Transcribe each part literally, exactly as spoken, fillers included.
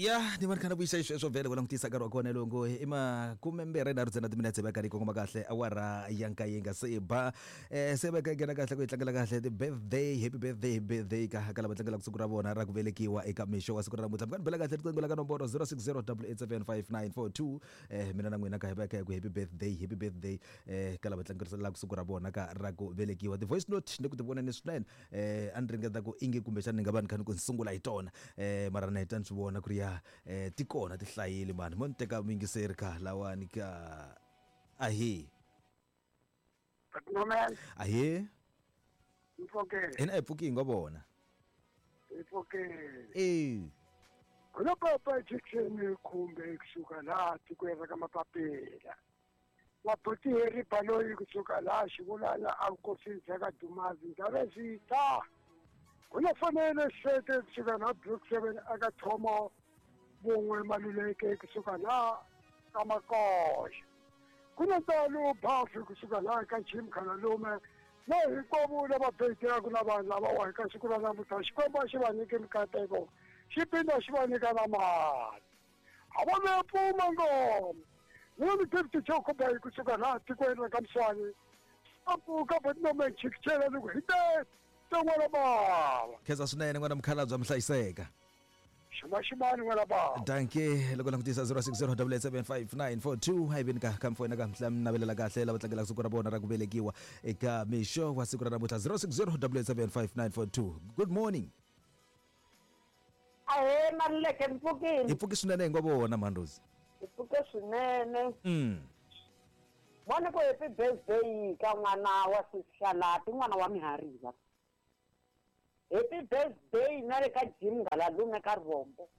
Ya ni va ni kha na vuyisa xisweswo vhele ku langutisa nkarhi wa kona longo i makume mbirhi nharhu ntsena timinetse va karhi yi kongoma kahle awara ya nkaye nga se ba eh se va ka nghena kahle ku yi tlangela kahle ti-birthday, happy birthday, birthday ka ka lava tlangelaka siku ra vona ra ku velekiwa eka mixo wa siku ra namuntlha. Mi nga ni bela kahle riqingho la ka nomboro zero six zero double eight seven five nine four two. eh mina na n'wina ka hi va ka hi ku happy birthday, happy birthday eh ka lava tlangelaka siku ra vona ka ra ku velekiwa. Ti-voice note ni ku ti voneni swinene, eh a ni ringeta ku ingi kumbexana ni nga va ni kha ni ku ni sungula hi tona, eh mara na heta ni swi vona ku ri ya eh ti kona ti hlayile mani. Mo ni teka muyingiseri ka lawani ka ahe. Nomel, Ahe. Mpfokele. Hina hi pfuki hi ngo vona. Mpfokele. Eh. Kuna papa Jackson kumbe kusuka laha tikweni ra ka Mapapela. Mabuti Harry Baloyi kusuka laha Xivulana a vukosini bya ka Dumazi Ndabezitha. Kuna fanele Sete kusuka laha Block seven aka Thomo Vun'we Maluleke kusuka laha ka Makoxa. Kuna Ntalo Bafi kusuka laha ka Jim Khalalume na hinkwavo lava birthday-aka na vanhu lavawa eka siku ra namuntlha. Xikwembu a xi va nyiki mikateko, xi phinda xi va nyika na mali. A va ve pfuma ngoma. Mina ni David Jokobayi kusuka laha tikweni ra ka Mswani. A pfuka Botnomeng Chikichela ni ku hi te n'wana bava. Khensa swinene n'wana mukhalabye mi hlayiseka. Ximaximani n'wana bava. Dankie loko langutisa zero six zero double eight seven five nine four two hi vini ka ka mfowena ka mhla mi navelela kahle lava tlangelaka siku ra vona ra ku velekiwa eka mixo wa siku ra namuntlha zero six zero double eight seven five nine four two. Good morning. Ahee Maluleke, mi pfukile? Hi pfuki swinene hi ngo vona Mhandrozi. Hi pfuke swinene. Mm. Vona ku happy birthday ka n'wana wa Sishalati, n'wana wa Mihariva. Happy birthday na le ka Jim Ngalalume ka Rivombo.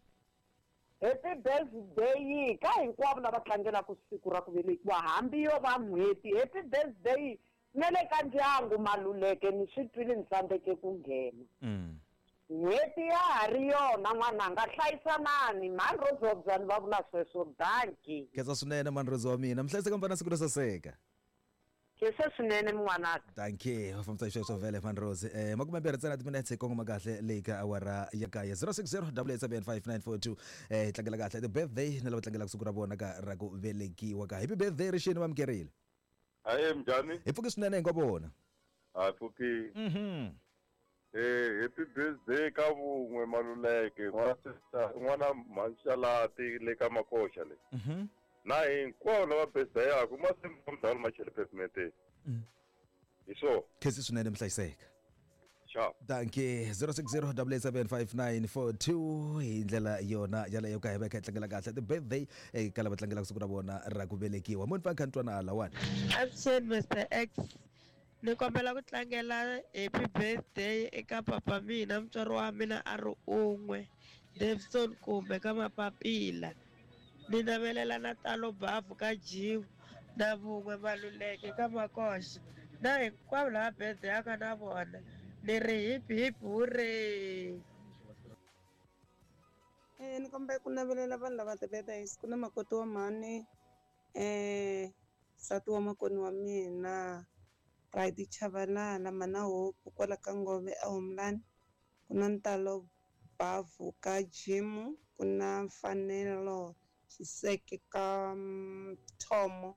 Happy birthday ka hinkwavo lava tlangelaka siku ra ku velekiwa hambi yo va n'hweti. Happy birthday na le ka ndyangu Maluleke, ni swi twile ni tsandzeke ku nghena. Mm. N'hweti ya ha ri yona n'wananga, hlayisanani. Mhandrozi wa Byani va vula sweswo. Dankie. Khensa swinene Mhandrozi wa mina, mi hlayiseka mi va na siku ro saseka. Khensa swinene n'wanaka. Dankie, va fambisa xisweswo vhele Mhandrozi. Eh makume mbirhi ntsena timinetse hi kongoma kahle leyi ka awara ya kaye zero six zero double eight seven five nine four two. Eh hi tlangela kahle ti-birthday na lava tlangelaka siku ra vona ka ra ku velekiwa ka. Happy birthday rixini va amukerile. Ahee minjhani? Hi pfuki swinene hi ngo vona. Ha pfuki. Mhm. Eh happy birthday ka Vun'we Maluleke, n'wana sister, n'wana Mhanxalati le ka Makoxa le. Mhm. Na hinkwavo lava birthday-aka masimba mdala machele pavement. Mm. Hi swona. Khensi swinene mi hlayiseka. Sharp. Dankie zero six zero double eight seven five nine four two hi ndlela yona yaleyo ka hi va hi kha hi tlangela kahle ti-birthday eka lava tlangelaka siku ra vona ra ku velekiwa. Mo ni pfa ni kha ni twa na lawani. Avuxeni Mister X. Ni kombela ku tlangela happy birthday eka papa mina, mutswari wa mina a ri un'we, Davison kumbe ka Mapapila. Ni navelela na Talo Bavu ka Jim na Vun'we Maluleke ka Makoxa na hinkwavo lava birthday-aka na vona. Ni ri hip hip hooray. Eh ni kombela ku navelela vanhu lava ti-birthdays. Ku na makoti wa mhani, eh nsati wa makoni wa mina, Pride Chabalala, mana Hope kwala ka Ngove a Homeland. Ku na Ntalo Bavu ka Jim, ku na Mfanelo Xiseke ka Thomo.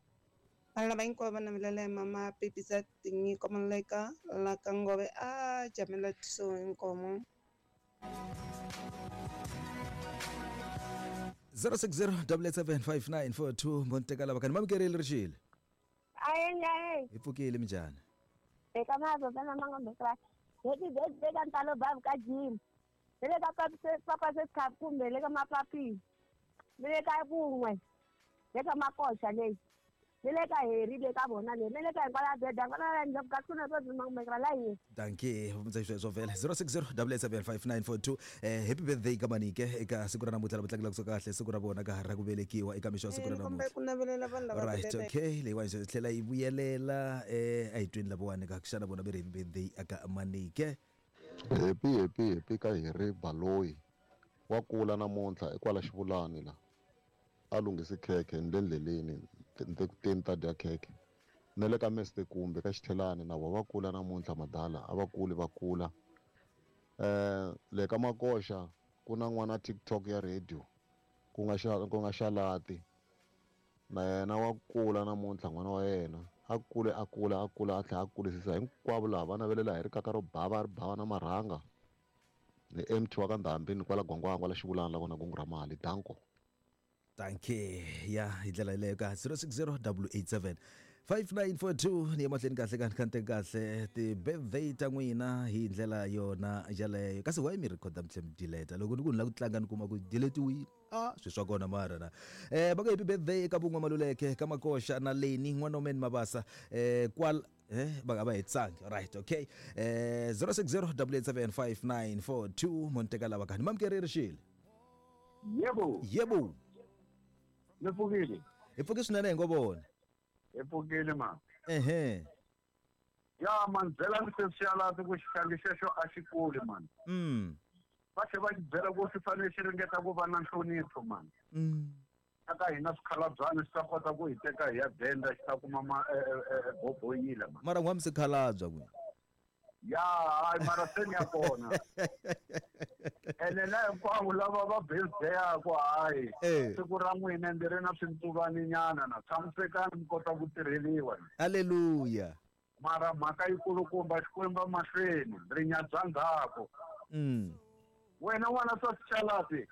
Vanhu lava hinkwavo va navelela hi mama Pepisa Tinyiko Maluleka la ka Ngove a Jamela Thuso Inkomo. zero six zero double eight seven five nine four two mo ni teka lava kani mamukerile rixile. Ahee ahee. Hi pfukile minjhani? Eka mavava na mangombe ka. Happy birthday ka Ntalo Bavu ka Jim. Ni le ka papa Seskhap kumbe le ka Mapapi. Ni le ka Vun'we. Le ka Makoxa leyi. Ni le ka Harry le ka vona le. Ni le ka hinkwala birthday hinkwala ndlela ka ku na swo mangombe ka la yi. Dankie, va xisweswo vhele zero six zero double eight seven five nine four two. Eh happy birthday ka Manike eka siku ra namuntlha lava tlangelaka siku kahle siku ra vona ka ra ku velekiwa eka mixo wa siku ra Ni kombela namuntlha. ku navelela vanhu lava Right, ti-birthday. okay, leyiwani yi tlhela yi vuyelela eh a hi tweni lavawani ka xana vona ve ri happy birthday aka Manike. Happy happy happy ka Harry Baloyi. Wa kula namuntlha ekwala Xivulani la. A lunghisi khekhe ni le ndleleni ni ku teni ta dya khekhe. Na le ka Mister Kumbe ka Xithelani na vona va kula namuntlha madala, a va kuli va kula. Eh le ka Makoxa ku na n'wana TikTok ya radio. ku nga xa ku nga Xalati na yena wa kula namuntlha n'wana wa yena a kule a kula a kula a tlhela a kurisisa hinkwavo laha va navelela hi rikaka ro bava ri bava na marhanga ni M T wa ka Ndhambi ni kwala Gwangwangwa kwala Xivulana la kona kungu ra mali danko. Dankie. Ya, hi ndlela yeleyo ka zero six zero eight eight seven five nine four two ni ya mahlweni kahle ka kante kahle ti-birthday ta n'wina hi ndlela yona yaleyo. Kasi why mi rhikhoda mi tlhe mi delete loko ni ku ni lava ku tlanga ni kuma ku deletiwile? A swi swa kona mara na eh va ku happy birthday eka Vun'we Maluleke ka Makoxa na Leni N'wanomeni Mabasa eh kwala eh va nga va hetsangi. Right, okay, eh zero six zero eight eight seven five nine four two monteka lava kani mamkereri xile. Yebo. Yebo. Mi pfukile? Hi pfuke swinene, hi ngo vona. Hi pfukile ma. Ehe. Ya man, byela ni sesiyalati ku xihlangi xexo a xi kuli man. mm Va tlhe va xi byela ku xi fanele xi ringeta ku va na nhlonipho man. Mm aka hina swikhalabyanyi swi ta kota ku hi teka hi ya benda xi ta kuma ma eh, eh, eh, boboyila man. Mara n'wa mi sikhalabya n'wina. Ya hayi, mara se ni ya kona ene na hinkwavo lava va birthday-aku, hayi, Eh. siku ra n'wina ndzi ri na swintsuvaninyana na tshamisekani mi kota ku tirheliwa. Halleluya. Mara mhaka yikulukumba, Xikwembu mahlweni, rinyadza ndzhaku. mm Wena n'wana swa sichalati,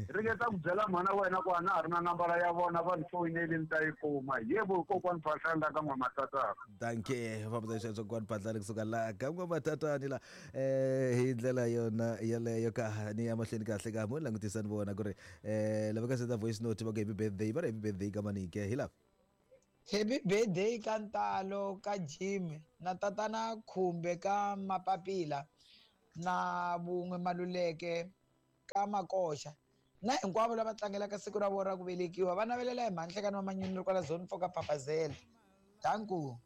ringeta ku byela mhana wena ku a na ha ri na nambara ya vona, va ni foyineli ni ta yi kuma. Yebo, kokwani Phahlani ka N'wamatatana. Dankie, fambisa sweswo kwani Phahlani kusuka la ka N'wamatatani la eh hi ndlela yona yeleyo ka ni ya mahlweni kahle ka mo langutisa ni vona ku ri eh lava ka senda voice note va ku happy birthday, va ri happy birthday ka manike hi lava. Happy birthday ka Ntalo ka Jim na tatana Khumbe ka Mapapila na Vun'we Maluleke ka Makoxa na hinkwavo lava tlangelaka siku ra vona ra ku velekiwa. Va navelela hi mhanhlekani wa manyunyu kwala zone four ka Papazela. Danku.